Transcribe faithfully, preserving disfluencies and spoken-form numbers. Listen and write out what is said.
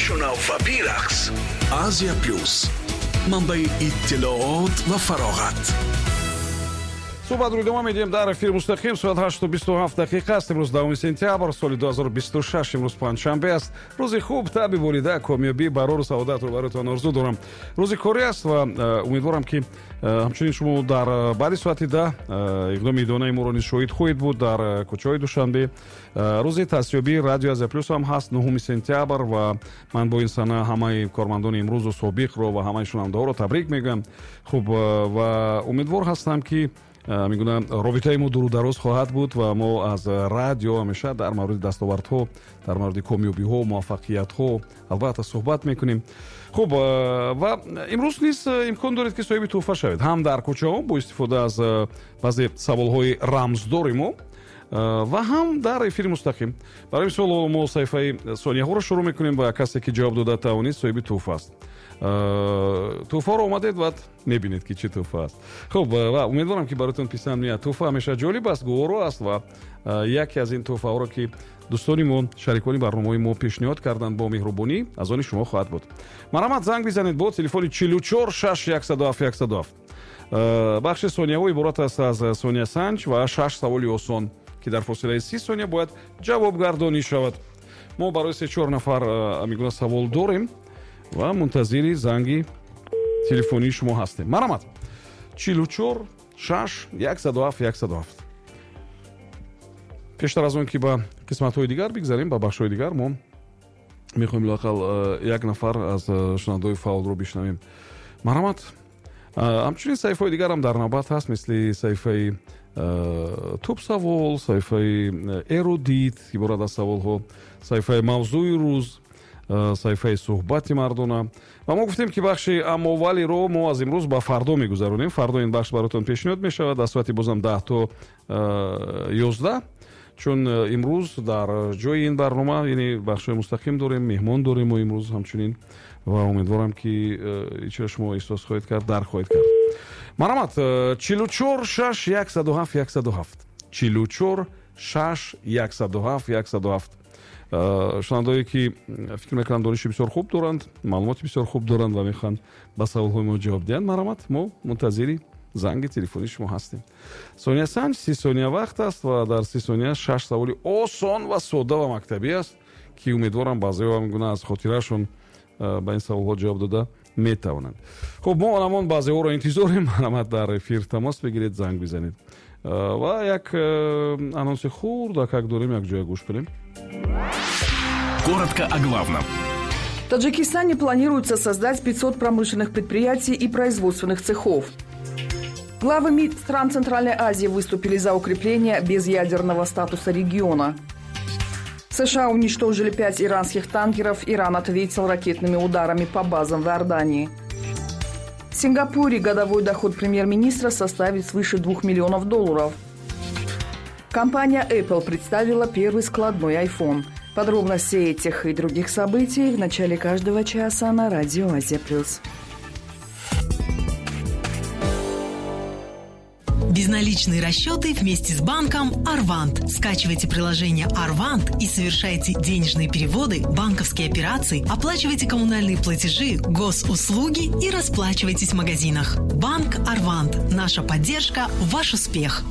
Бишунав ва бирақс. Азия Плюс, манбаи иттилоот ва фароғат. Суҳбатро идома медиҳем дар эфири мустақим. Соат ҳашту бисту ҳафт дақиқа аст. Имрӯз даҳуми сентябр соли ду ҳазору бисту шаш, имрӯз панҷшанбе аст. Рӯзи хуб, таби болида, комёбӣ, барору саодатро бароятон орзу дорам. Рӯзи корӣ аст ва умедворам, ки ҳамчунин шумо дар баъди соати даҳ иқдоми идонаи моро низ шоҳид хоҳед буд дар кӯчаҳои Душанбе. Рӯзи таъсисёбии Радио Азия Плюс ҳам ҳаст, нуҳуми сентябр, ва ман бо ин сана ҳамаи кормандони имрӯзу собиқро ва ҳамаи шунавандаҳоро табрик мегӯям. Хуб, ва умедвор ҳастам, ки мегӯям, робитаи мо дуру дароз хоҳад буд ва мо аз радио ҳамеша дар мавриди дастовардҳо, дар мавриди комёбиҳо, муваффақиятҳо албатта суҳбат мекунем. Хуб, ва имрӯз низ имкон доред, ки соҳиби тӯҳфа шавед, ҳам дар кӯчаҳо бо истифода аз баъзе саволҳои рамздори мо ва ҳам дар эфири мустақим. Барои мисол, мо саҳифаи сонияҳоро шурӯъ мекунем ва касе, ки ҷавоб дода тавонист, соҳиби тӯҳфа аст. Тӯҳфаро омадед ва мебинед, ки чӣ тӯҳфа аст. Хуб, ва умедворам, ки бароятон писанд меяд. Тӯҳфа ҳамеша ҷолиб аст, гуворо аст ва яке аз ин тӯҳфаҳоро, ки дӯстони мо, шарикони барномаҳои мо пешниҳод карданд бо меҳрубонӣ, аз они шумо хоҳад буд. Марҳамат, занг бизанед бо телефони чилу чор шаш яксаду ҳафт яксаду ҳафт. Бахши сонияҳо иборат аст аз сониясанҷ ва шаш саволи осон, ки дар фосилаи си сония бояд ҷавобгардонӣ шавад. Мо барои се чор нафар мегӯна савол дорем ва мунтазири занги телефонии шумо ҳастем. Марҳамат, чилу чор шаш яксаду ҳафт яксаду ҳафт. Пештар аз он ки ба қисматҳои дигар бигзарем, ба бахшҳои дигар, мо мехоҳем лоақал як нафар аз шунавандаҳои фаъолро бишнавем. Марҳамат. Ҳамчунин саҳифаҳои дигарам дар навбат ҳаст, мисли саҳифаи тӯбсавол, саҳифаи эрудит, иборат аз саволҳо, саҳифаи мавзӯи рӯз, саҳифаи суҳбати мардона. Ва мо гуфтем, ки бахши аммовалиро мо аз имрӯз ба фардо мегузаронем. Фардо ин бахш баротон пешниҳод мешавад аз соати бозам даҳ то ёздаҳ, чун имрӯз дар ҷои ин барнома, яъне бахшҳои мустақим дорем, меҳмон дорем мо имрӯз ҳамчунин, ва умедворам, ки ичиро шумо эҳсос хоҳед кард, дарк хоҳед кард. Марҳамат, чилу чор шаш яксаду ҳафт яксаду ҳафт, чилу чор шаш яксаду ҳафт яксаду ҳафт. Шунавандаҳое, ки фикр мекунам дониши бисёр хуб доранд, маълумоти бисёр хуб доранд ва мехоҳанд ба саволҳои мо ҷавоб диҳанд, марҳамат, мо мунтазири занги телефонии шумо ҳастем. Сониясанҷ си сония вақт аст ва дар си сония шаш саволи осон ва сода ва мактабӣ аст, ки умедворам баъзеҳо ҳамгуна аз хотираашон ба ин саволҳо ҷавоб дода метавонанд. Хуб, мо ҳамон баъзеҳоро интизорем. Марҳамат, дар эфир тамос бигиред, занг бизанед. Ва як анонси хурдакак дорем, як ҷоя гӯш кунем. Коротко о главном. В Таджикистане планируется создать пятьсот промышленных предприятий и производственных цехов. Главы МИД стран Центральной Азии выступили за укрепление безъядерного статуса региона. США уничтожили пять иранских танкеров. Иран ответил ракетными ударами по базам в Иордании. В Сингапуре годовой доход премьер-министра составит свыше двух миллионов долларов. Компания Apple представила первый складной iPhone. Подробности этих и других событий в начале каждого часа на радио Азия Плюс. Безналичные расчеты вместе с банком «Арвант». Скачивайте приложение «Арвант» и совершайте денежные переводы, банковские операции, оплачивайте коммунальные платежи, госуслуги и расплачивайтесь в магазинах. Банк «Арвант». Наша поддержка – ваш успех.